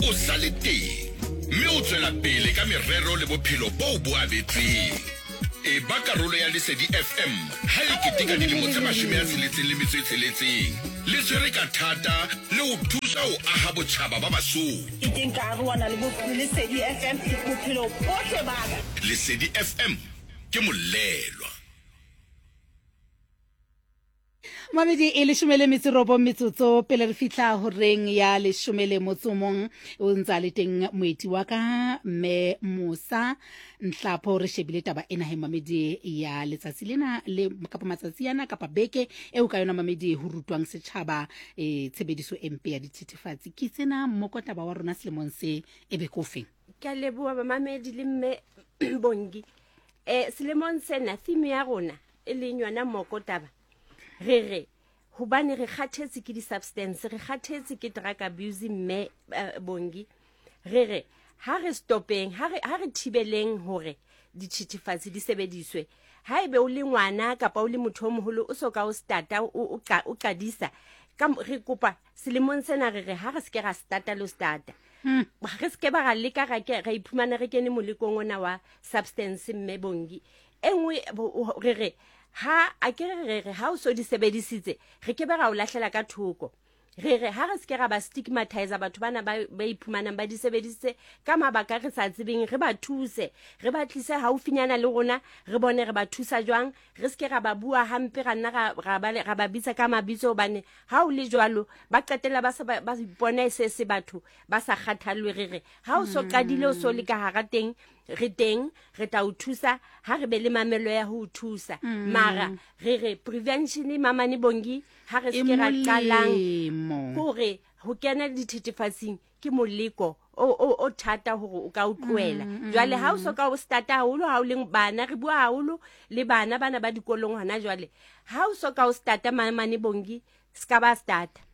O sa le teng mme o tswela pele ka merero le bophelo boo bo abetsweng. Eba karolo ya Lesedi FM ha e keteka dilemo tse 66 le tshwere ka thata le ho thusa ho aha botjhaba ba Basotho. Ke teng ka arohana le Lesedi FM bophelo bohle ba ka. Lesedi FM ke molelwa. Mamedi e leshome le metso robong metsotso pele re fihla horeng ya leshome le motso mong o ntse a le teng moeti wa ka mme Musa Nhlapho. Re shebile taba ena he mamedi ya letsatsi lena le kapa matsatsi ana kapa beke eo ka yona mamedi ho rutwang setjhaba e tshebediso e mpe ya dithethefatsi. Ke tsena mmoko taba wa rona selemong se e be kofe. Ke a leboha bamamedi le mme Bongi. Selemong sena theme ya rona e leng yona moko taba re re hobane re kgathetse ke di-substance, re kgathetse ke drug abuse mme Bongi, re re ha re stopeng, ha re thibeleng hore dithethefatsi di sebediswe. Ha ebe o le ngwana kapa o le motho o moholo o so ka o starta o qadisa, ka re kopa selemong sena re re ha re seke ra starta le ho starta. Re seke ba ra leka ra ke ra iphumana re kene molekong ona wa substance mme Bongi. E nngwe re re ha a ke re re ha o so di sebedisitse re ke be ra o lahlela ka thoko. Re re ha re seke ra ba stigmatize batho bana ba iphumanang ba di sebedisitse ka mabaka re sa tsebeng, re ba thuse, re ba tlise haufinyana le rona, re bone re ba thusa jwang, re seke ra ba bua hampe, ra nna ra ba bitsa ka mabitso, hobane ha o le jwalo ba qetella ba se ba ipona e se se batho ba sa kgathallwe. Re re ha o so qadile o so le ka hara teng, re teng re tla o thusa, ha re be le mamello ya ho o thusa. Mara re re prevention mamane Bongi, ha re E seke ra qalang molemo. hore ho kena dithethefatsing ke moleko o thata hore o ka o tlohela. Jwale ha o so ka o starta haholo, ha o leng bana, re bua haholo le bana bana ba dikolong hona jwale, ha o so ka o starta mamane Bongi, se ka ba starta.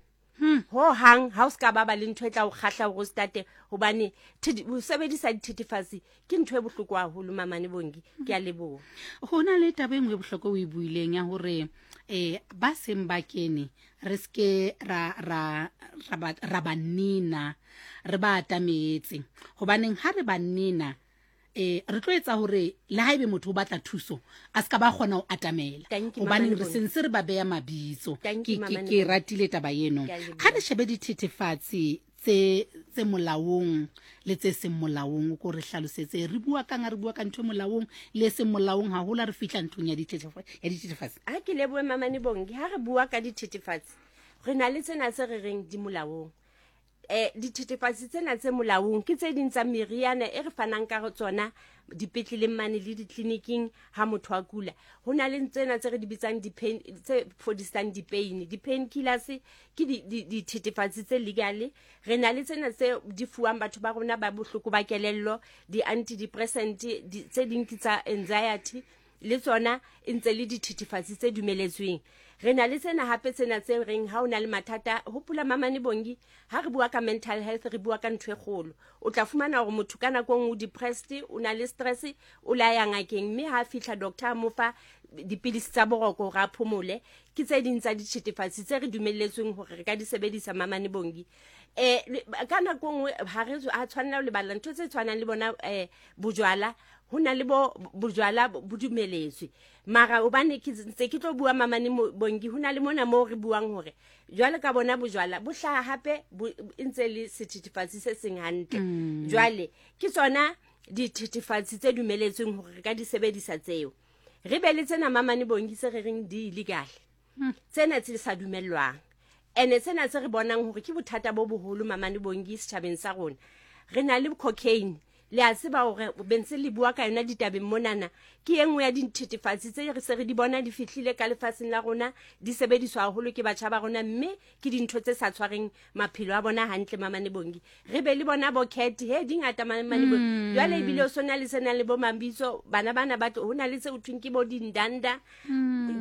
Ho hang ha o se ka ba ba le ntho e tla o kgahla hore o starte, hobane ho sebedisa dithethefatsi ke ntho e bohloko haholo mamane Bongi. Ke a leboha. Ho na le taba e nngwe e bohlokwa o e buileng ya hore ba seng ba kene re seke ra ba nina, re ba atametse, hobaneng ha re ba nina re tlo etsa hore le ha ebe motho o batla thuso a se ka ba kgona ho atamela, Thank you, hobaneng Mama re Lebone. sentse re ba beya mabitso. Thank you, Mama Ke Lebone. ratile taba eno. Ke a leboha. Ha re shebe dithethefatsi tse molaong le tse seng molaong, o ko re hlalosetse re bua kang ha re bua ka ntho e molaong le e seng molaong, haholo ha re fihla nthong ya dithethefatsi. Ha ke lebohe Mamane Bongi. Ha re bua ka dithethefatsi, re na le tsena tse re reng di molaong. Dithethefatsi tsena tse molaong ke tse ding tsa meriana e re fanang ka tsona dipetleleng mane le ditleliniking ha motho a kula. Ho na le tsena tse re di bitsang di-pain, tse fodisang di-pain, di-pain killers ke dithethefatsi tse legal. Re na le tsena tse di fuwang batho ba rona ba bohloko ba kelello, di-antidepressant, tse ding ke tsa anxiety, le tsona e ntse le dithethefatsi tse dumeletsweng. Re na le tsena hape tsena tse reng ha o na le mathata, hopola Mamane Bongi, ha re bua ka mental health re bua ka ntho e kgolo. O tla fumana hore motho ka nako e nngwe o depressed, o na le stress, o la ya ngakeng, mme ha fihla doctor a mo fa dipilisi tsa boroko hore a phomole. Ke tse ding tsa dithethefatsi tse re dumelletsweng hore re ka di sebedisa Mamane Bongi. Ka nako e nngwe ha re ha tshwanela ho lebala ntho tse tshwanang le bona bojwala. Ho na le bo bojwala bo dumeletswe, mara hobane ke ntse ke tlo bua Mamane Bongi, ho na le mona moo re buang hore jwale ka bona bojwala bo hlaha hape bo e ntse le sethethefatsi se seng hantle. Jwale ke tsona dithethefatsi tse dumeletsweng hore re ka di sebedisa tseo. Re be le tsena Mamane Bongi tse re reng di illegal, tsena tse sa dumellwang, ene tsena tse re bonang hore ke bothata bo boholo Mamane Bongi setjhabeng sa rona. Re na le cocaine, le a tseba hore bentse le bua ka yona ditabeng monana, ke e nngwe ya dithethefatsi tse re se re di bona di fihlile ka lefatsheng la rona, di sebediswa haholo ke batjha ba rona, mme ke dintho tse sa tshwareng maphelo a bona hantle Mamane Bongi. Re be le bona bo cat, he di ngata Mamane Bongi. Jwale ebile o sona le sena le bo mabitso, bana bana ba tlo, ho na le tse ho thweng ke bo dindanda,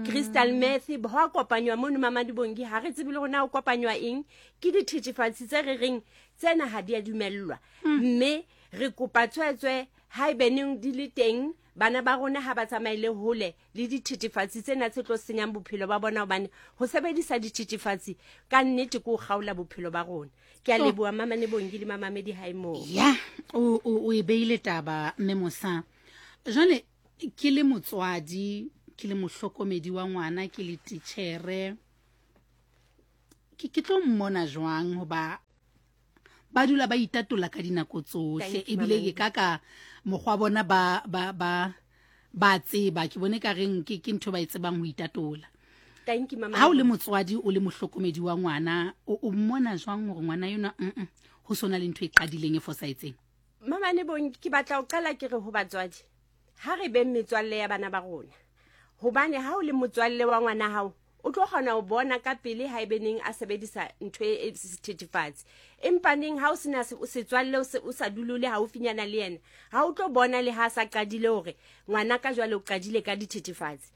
crystal meth, ho a kopanywa mono Mamane Bongi, ha re tsebe le hore na ho kopanywa eng. Ke dithethefatsi tse re reng tsena ha di a dumellwa, mme re kopa tswetswe haebeneng di le teng. Bana ba rona ha ba tsamaele hole le dithethefatsi tsena tse tlo senyang bophelo ba bona, hobane ho sebedisa dithethefatsi ka nnete ke ho kgaola bophelo ba rona. Ke a leboha Mamane Bongi le mamamedi hae moo. Ya, o e beile taba mme Mosa. Jwale ke le motswadi, ke le mohlokomedi wa ngwana, ke le titjhere, ke tlo mmona jwang hoba ba dula ba itatola ka dinako tsohle, ebile ke ka ka mokgwa bona ba ba ba ba tseba, ke bone ka reng ke ke ntho ba e tsebang ho itatola. Thank you, mama. Ha o le motswadi, o le mohlokomedi wa ngwana, o mmona jwang hore ngwana enwa ho sona le ntho e qadileng e fosahetseng? Mama ne bong, ke batla ho qala ke re ho batswadi, ha re beng metswalle ya bana ba rona, hobane ha o le motswalle wa ngwana hao, o tlo kgona ho bona ka pele ha ebe neng a sebedisa ntho e sethethefatsi. Empa neng ha o sena setswalle, o sa dule o le haufinyana le yena, ha o tlo bona le ha a sa qadile hore ngwana ka jwale o qadile ka dithethefatsi.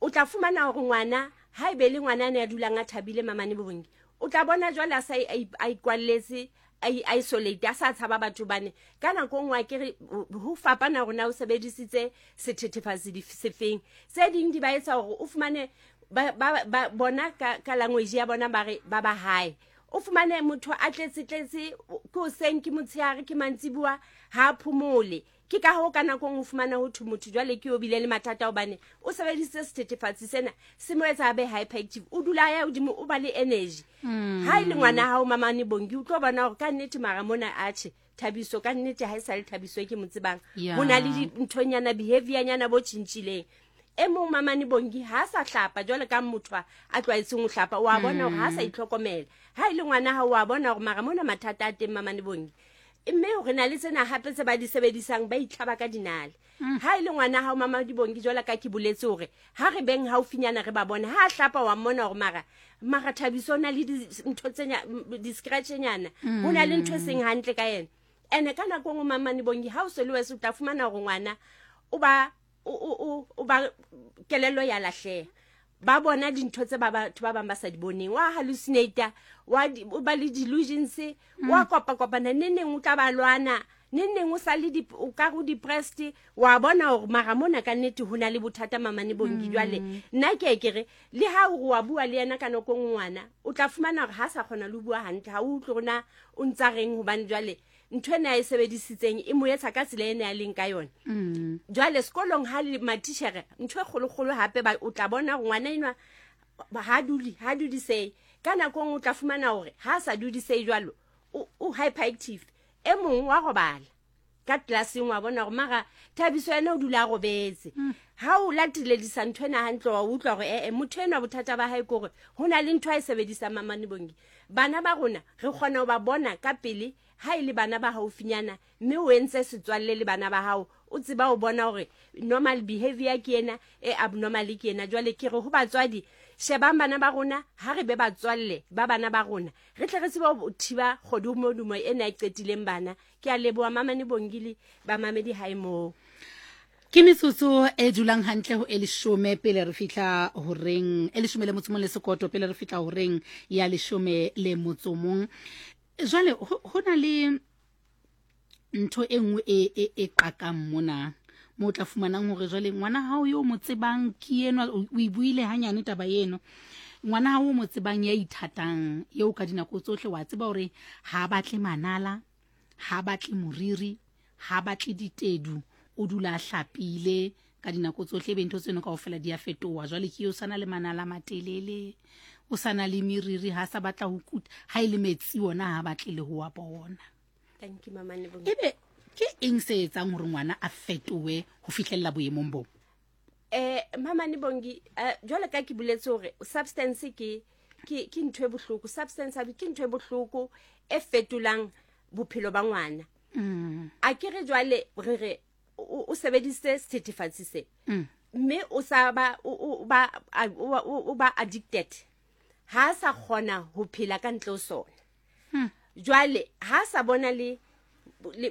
O tla fumana hore ngwana ha ebe le ngwana a ne a dulang a thabile, Mamane Bongi, o tla bona jwale a sa a ikwalletse, a isolate, a sa tshaba batho, bane ka nako nngwe a ke re ho fapana hore na o sebedisitse sethethefatsi sefeng. Tse ding di ba etsa hore o fumane ba bona ka language ya bona ba re ba ba hae. O fumane motho a tletse tletse, ke hoseng, ke motshehare, ke mantsibuwa, ha a phomole. Ke ka hoo ka nako nngwe o fumana ho thwe motho jwale ke o bile le mathata hobane o sebedisitse sethethefatsi sena, se mo etsa a be hyperactive, o dula a ya hodimo, o ba le energy. Ha e le ngwana hao Mamane Bongi, o tlo bona hore ka nnete mara mona atjhe Thabiso ka nnete ha e sa le Thabiso e ke mo tsebang. Ho na le dinthonyana, behavior-nyana bo tjhentjhileng. E mong Mamane Bongi ha a sa hlapa jwale ka motho a tlwaetseng ho hlapa, wa bona hore ha a sa itlhokomela. Ha e le ngwana hao, wa bona hore mara mona mathata a teng Mamane Bongi. Mme re na le tsena hape tse ba di sebedisang, ba itlhaba ka dinale. Ha e le ngwana hao Mamane Bongi, jwale ka ke boletse hore ha re beng haufinyana re ba bone, ha a hlapa wa mmona hore mara Thabiso o na le ntho tse di-scratch-nyana, ho na le ntho e seng hantle ka yena. Ene ka nako nngwe Mamane Bongi, ha o se le wese o tla fumana hore ngwana o ba o ba kelello ya lahleha, ba bona dintho tse ba batho ba bang ba sa di boneng, wa hallucinate, wa o ba le delusions, wa kopa kopana, neng neng o tla ba lwana, neng neng o sa le o ka re o depressed, wa bona hore mara mona ka nnete ho na le bothata Mamane Bongi. Jwale nna ke ke re le ha o re wa bua le yena ka nako nngwe, ngwana o tla fumana hore ha sa kgona le ho bua hantle, ha o utlwe hore na o ntsa reng, hobane jwale ntho ena a e sebedisitseng e mo etsa ka tsela ena a leng ka yona. Jwale sekolong ha le matitjhere, ntho e kgolokgolo hape ba o tla bona hore ngwana enwa ha dule, ha dudisehe. Ka nako nngwe o tla fumana hore ha a sa dudisehe jwalo, o hyperactive. E mong wa robala ka tlelaseng, wa bona hore mara Thabiso yena o dula a robetse. Ha o lateledisa ntho ena hantle, wa utlwa hore ee, motho enwa bothata ba hae ke hore ho na le ntho a e sebedisang. Mamane Bongi, bana ba rona re kgona ho ba bona ka pele ha e le bana ba haufinyana, mme o entse setswalle le bana ba hao, o tseba ho bona hore normal behavior ke ena, e abnormal ke ena. Jwale ke re ho batswadi, shebang bana ba rona, ha re be batswalle ba bana ba rona, re tle re tsebe ho thiba kgodumodumo ena e qetileng bana. Ke a leboha Mamane Bongi le bamamedi hae moo. Ke metsotso e dulang hantle ho e leshome pele re fihla horeng e leshome le motso mong le sekoto pele re fihla horeng ya leshome le motso mong. Jwale ho na le ntho e nngwe e qakang mona mo o tla fumanang hore jwale ngwana hao yo mo tsebang ke enwa, o e buile hanyane taba eno, ngwana hao o mo tsebang ya ithatang eo ka dinako tsohle wa tseba hore ha batle manala, ha batle moriri, ha batle ditedu, o dula a hlapile ka dinako tsohle, ebe ntho tseno kaofela di a fetoha. Jwale ke eo sana le manala a matelele, o sana le meriri, ha sa batla ho kuta, ha e le metsi ona ha batle le ho wa bona. Thank you, Mama Lebohang. Ebe ke eng se etsang hore ngwana a fetohe ho fihlella boemong bo? Mama Lebongi, jwale ka ke boletse hore substance ke ntho e bohloko, substance abuse ke ntho e bohloko e fetolang bophelo ba ngwana. A ke re jwale re re o sebedisitse sethethefatsi se, mme o sa ba, o ba, o ba addicted, ha sa kgona ho phela ka ntle ho sona. Jwale ha sa bona le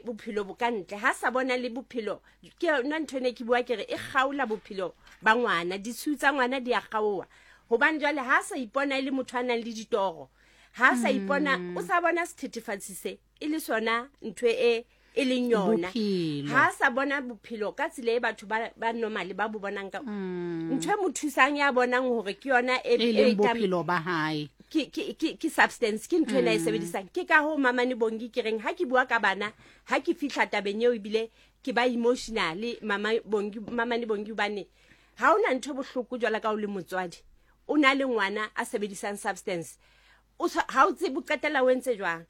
bophelo bo ka ntle, ha sa bona le bophelo, ke yona ntho ene ke bua ke re e kgaola bophelo ba ngwana, ditshiu tsa ngwana di a kgaoha, hobane jwale ha sa ipona e le motho a nang le ditoro, ha sa ipona, o sa bona sethethefatsi se e le sona ntho e e leng yona. Ha a sa bona bophelo ka tsela e batho ba ba normal ba bo bonang ka ntho e mo thusang ya bonang hore ke yona e e leng bophelo ba hae. Ke ke ke ke substance ke ntho ena e sebedisang. Ke ka hoo Mamane Bongi ke reng ha ke bua ka bana ha ke fihla tabeng eo ebile ke ba emotional mama Bongi Mamane Bongi hobane ha hona ntho e bohloko jwalo ka o le motswadi o na le ngwana a sebedisang substance o ha o tsebe o qetella o entse jwang.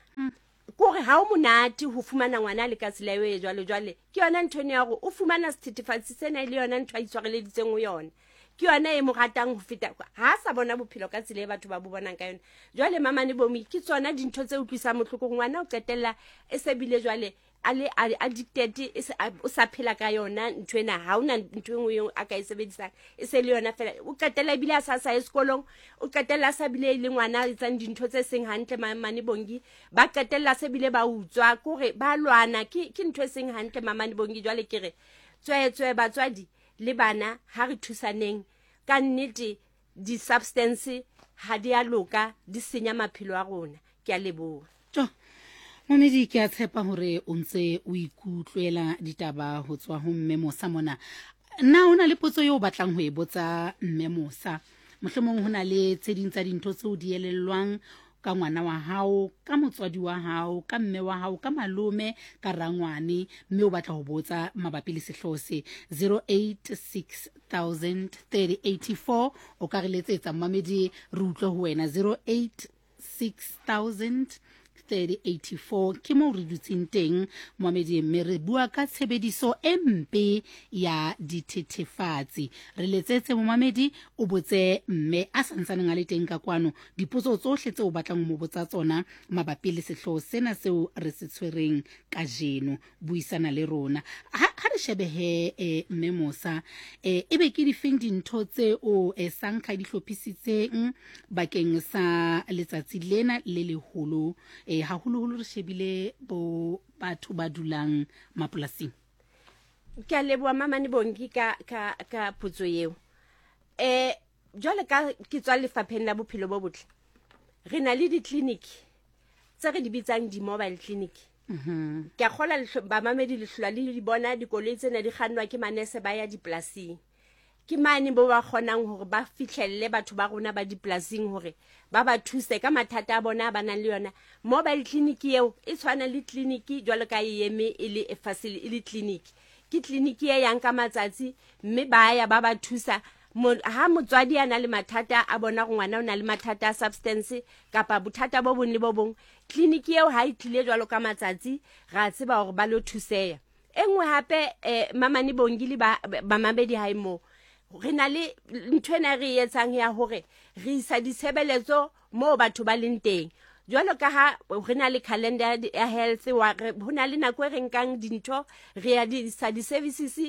Kore ha o monate ho fumana ngwana a le ka tsela eo e jwalo jwale ke yona ntho eno ya hore o fumana sethethefatsi sena e le yona ntho a itshwareleditseng ho yona ke yona e mo ratang ho feta ha a sa bona bophelo ka tsela e batho ba bo bonang ka yona jwale mamane bomi ke tsona dintho tse utlwisang bohloko ngwana o qetella e se bile jwale a le addicted e se o sa phela ka yona ntho ena ha ona ntho e nngwe eo a ka e sebedisang e se le yona fela o qetella ebile a sa sa ye sekolong o qetella a sa bile e le ngwana a etsang dintho tse seng hantle mamane bongi ba qetella se bile ba utswa kore ba lwana ke ke ntho e seng hantle mamane bongi jwale ke re tswetswe batswadi le bana ha re thusaneng ka nnete Di-substance ha di a loka, di senya maphelo a rona. Ke a leboha. Tjo! Momedi, ke a tshepa hore o ntse o ikutlwela ditaba ho tswa ho Mme Mosa mona. Na ho na le potso eo o batlang ho e botsa Mme Mosa? Mohlomong ho na le tse ding tsa dintho tseo di elellwang ka ngwana wa hao, ka motswadi wa hao, ka mme wa hao, ka malome, ka rangwane, mme o batla ho botsa mabapi le sehlooho se. 0860003084 o ka re letsetsa mmamedi re utlwe ho wena. 086000 3084 ke moo re dutseng teng moamedi, mme re bua ka tshebediso e mpe ya dithethefatsi. Re letsetse momamedi o botse mme a santsaneng a le teng ka kwano dipotso tsohle tseo o batlang ho mo botsa tsona mabapi le sehlooho sena seo re se tshwereng kajeno. Buisana le rona. Ha, ha re shebe he e, mme Mosa, e, ebe ke difeng dintho tseo e, Sankha di hlophisitseng bakeng sa letsatsi lena le leholo, e, haholoholo re shebile bo batho ba dulang mapolasing? Ke a leboha Mamane Bongi ka, ka, ka potso eo. Eh, jwale ka ke tswa lefapheng la bophelo bo botle, re na le di-clinic tse re di bitsang di-mobile clinic. Ke a kgola bamamedi le hlola le di bona dikoloi tsena di kgannwa ke manese ba ya dipolasing. Ke mane bo ba kgonang hore ba fihlelle batho ba rona ba dipolasing hore ba ba thuse ka mathata a bona a ba nang le yona. Mobile clinic eo e tshwana le clinic jwalo ka e eme e le e e le clinic. Ke clinic e yang ka matsatsi mme ba ya ba ba thusa. Ha motswadi a na le mathata a bona gore ngwana o na le mathata a substance kapa bothata bo bong le bo bong, clinic eo ha e tlile jwalo ka matsatsi ra tseba hore ba lo thuseya. E nngwe hape eh, Mamane Bongi le ba bamamedi hae moo re na le ntho ena re e etsang ya hore re isa ditshebeletso moo batho ba leng teng. Jwalo ka ha re na le calendar ya health wa ho na le nako e re nkang dintho re ya di isa di-services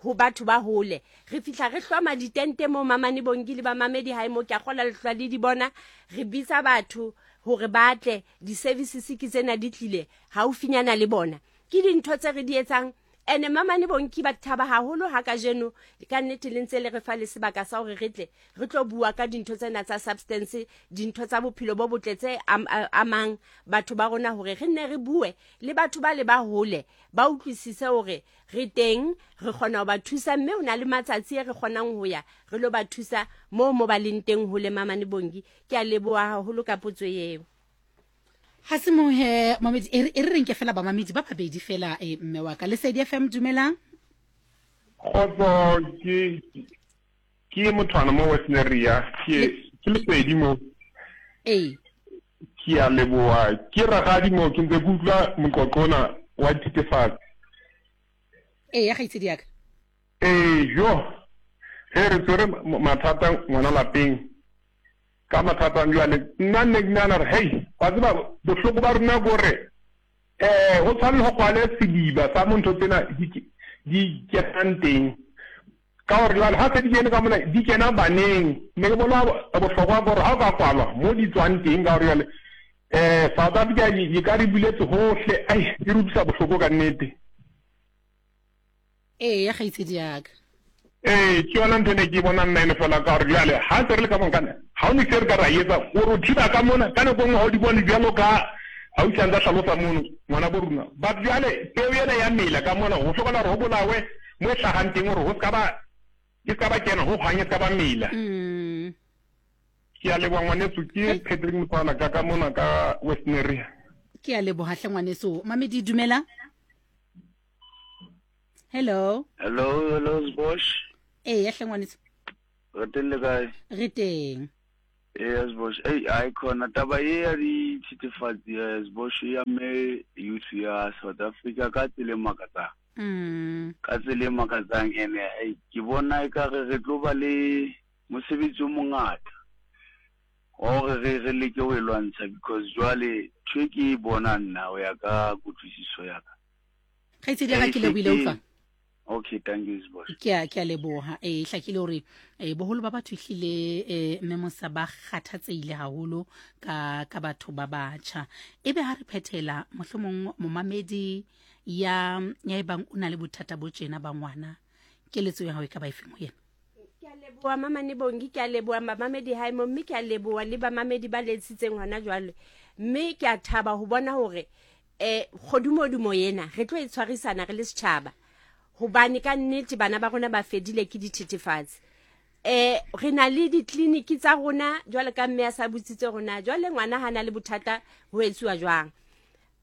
ho batho ba hole. Re fihla re hloma ditente moo Mamane Bongi le bamamedi hae moo, ke a kgolwa le hlwa le di bona. Re bitsa batho hore ba tle, di-services ke tsena di tlile haufinyana le bona. Ke dintho tse re di etsang. Ene Mamane Bonki ba thaba haholo ha kajeno ka nnete le ntse le re fa le sebaka sa hore re tle re tlo bua ka dintho tsena tsa substance, dintho tsa bophelo bo botle tse amang batho ba rona, hore re nne re bue le batho ba le ba hole ba utlwisise hore re teng, re kgona ho ba thusa, mme ho na le matsatsi e re kgonang ho ya re lo ba thusa moo mo ba leng teng hole. Mamane Bongi, ke a leboha haholo ka potso eo. Ha se mo he mamedi, e re re nke fela bamamedi ba babedi fela e mme wa ka. Lesedi FM, dumelang. Kgotso, ke ke mothwana mo Western area, ke ke Lesedi mo. Ee. Ke a leboha, ke ragadi mo ke ntse ke utlwa moqoqo ona wa dithethefatsi. Ee, ya kgaitsedi ya ka. Ee, jo. Ge re tswere mathata ngwana lapeng. Ka mathata jwale nna nne ke nahana gore hei, wa tseba bohloko ba rona ke gore um go tshwane le go kwale sediba sa mo ntho tsena di kenang teng, ka gore jwale ga se di kene ka mona di kena baneng. Ne ke bona bohlokwa gore ga o ka kwalwa mo di tswang teng, ka gore jwale um South Africa e ka re buletse gohle, ai e re utlwisa bohloko ka nnete. Ee, ya kgaitsedi yaka. Ee, ke yona ntho ne ke bona nna ene fela, ka gore jale ga se re le ka monkane ga o ne se re ka ra etsa gore o thiba ka mona ka nako nngwe ga o di bone bjalo ka Ausi a ntsa hlalosa mono ngwana bo rona. But jwale peo ena ya mela ka mona ho hlokahala hore ho bolawe mo e hlahang teng hore ho ska ba e ska ba kena ho hang e ska ba mela. Mm. Ke a leboha ngwaneso ke Patrick Mothoana ka ka mona ka Westneria. Ke a leboha hle ngwaneso. Mamedi dumela. Hello. Hello, hello Sbosh. Ee, hle ngwaneso. Re teng le kae? Re teng. Ee, Sbosh. Ei, ai khona taba ye ya dithethefatsi eh, Sbosh e amme youth ya South Africa ka tsela e makatsang. Mm. Ka tsela e makatsang ene ei ke bona ekare re tlo ba le mosebetsi o mongata wa hore re re leke ho e lwantsha because jwale ntho e ke e bonang nna ho ya ka kutlwisiso ya ka. Kgaitsedi ya ka ke lebohile utlwa. Okay, thank you boss. Ke a ke a leboha. Eh hlakile hore eh boholo ba batho ehlile eh mme mosa ba kgathatsehile haholo ka ka batho ba batjha. Ebe ha re phethela mohlomong momamedi ya ya ebang o na le bothata bo tjena ba ngwana keletso ya hao e ka ba efeng ho yena? Ke a leboha Mamane Bongi, ke a leboha bamamedi hae mo, mme ke a leboha le bamamedi ba letsitseng hona jwale. Mme ke a thaba ho bona hore eh kgodumodumo ena re tlo e tshwarisana re le setjhaba hobane ka nnete bana ba rona ba fedile ke dithethefatsi. Eh re na le ditleliniki tsa rona jwale ka mme a sa botsitse rona jwale ngwana ha na le bothata ho etsuwa jwang.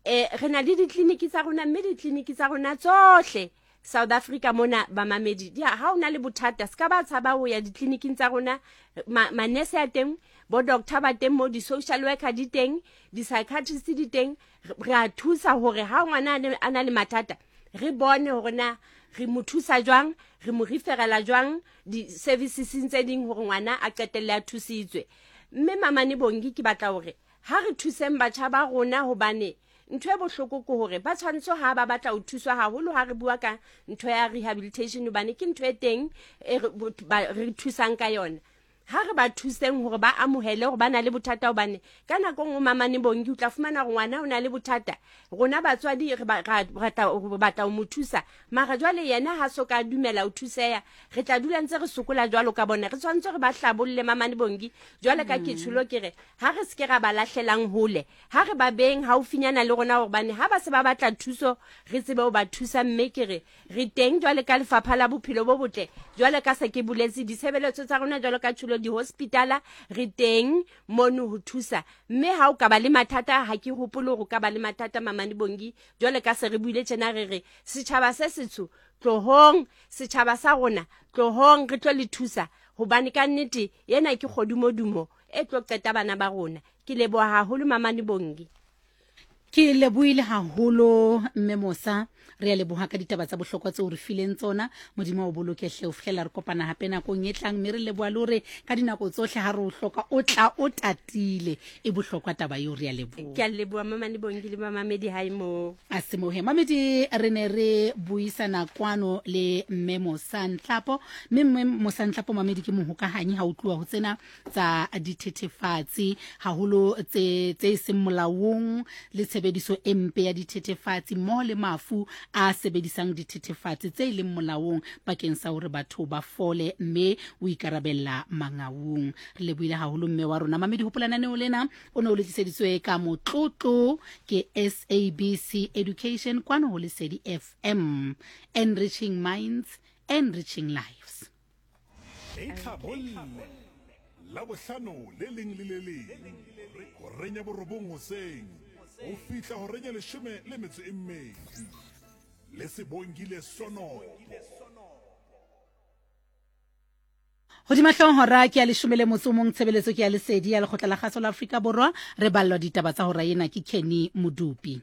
Eh re na le ditleliniki tsa rona mme ditleliniki tsa rona tsohle South Africa mona bamamedi di ha o na le bothata se ka ba tshaba ho ya ditleliniking tsa rona manese a teng bo doctor ba teng mo di-social worker di teng di-psychiatrist di teng re a thusa hore ha ngwana a na le mathata re bone hore na re mo thusa jwang re mo referela jwang di-serviceseng tse ding hore ngwana a qetelle a thusitswe mme mamane bongi ke batla hore ha re thuseng batjha ba rona hobane Ntho e bohloko ke hore ba tshwantsho ha ba batla ho thuswa haholo ha re bua ka ntho ya rehabilitation hobane ke ntho e teng e re thusang ka yona. Ha re ba thuseng hore ba amohele hore ba na le bothata hobane ka nako nngwe mamane bongi o tla fumana hore ngwana o na le bothata. Rona batswadi re batla ho mo thusa mara jwale yena ha so ka dumela ho thuseha re tla dula ntse re sokola jwalo ka bona. Re tshwanetse re ba hlabolle mamane bongi jwale ka ke tsholo ke re ha re se ke ra ba lahlelang hole. Ha re ba beeng haufinyana le rona hobane ha ba se ba batla thuso re tsebe ho ba thusa mme ke re re teng jwale ka lefapha la bophelo bo botle jwale ka se ke boletse ditshebeletso tsa rona jwalo ka tsholo dihospitala re teng mono ho thusa mme ha o ka ba le mathata ha ke hopole hore o ka ba le mathata Mamane Bongi jwale ka se re buile tjena re re setjhaba se setsho tlohong setjhaba sa rona tlohong re tlo le thusa hobane ka nnete ena ke kgodumodumo e tlo qeta bana ba rona Ke leboha haholo Mamane Bongi. Ke lebohile haholo Mme Mosa. Re a leboha ka ditaba tsa bohlokwa tseo re fileng tsona. Modimo o boloke hle ho fihlela re kopana hape nakong e tlang mme re leboha le hore ka dinako tsohle ha re o hloka o tla o tatile. E bohlokwa taba eo re a leboha. Ke a leboha Mamane Bongi le bamamedi hae moo. A semohe. Mamedi re ne re buisana kwano le Mme Mosa Ntlhapo mme Mme Mosa Ntlhapo mamedi ke mohokahanyi ha o tluwa ho tsena tsa dithethefatsi haholo tse tse seng molaong le tshebediso e mpe ya dithethefatsi mmoho le mafu a sebedisang dithethefatsi tse leng molaong bakeng sa hore batho ba fole mme o ikarabella mangaung. Re lebohile haholo mme wa rona. Mamedi hopola lenaneo lena o ne o le tliseditswe ka motlotlo ke SABC Education kwano ho Lesedi FM. Enriching minds, enriching lives. Itlhabolle Labohlano le leng le le leng horeng ya borobong hoseng ho fihla horeng ya leshome le metso e mmedi le Sebongile Sonopo. Hodima hlooho hora ke ya leshome le motso o mong tshebeletso ke ya lesedi ya lekgotla la kgaso la Afrika Borwa re ballwa ditaba tsa hora ena ke Kenny Modupi.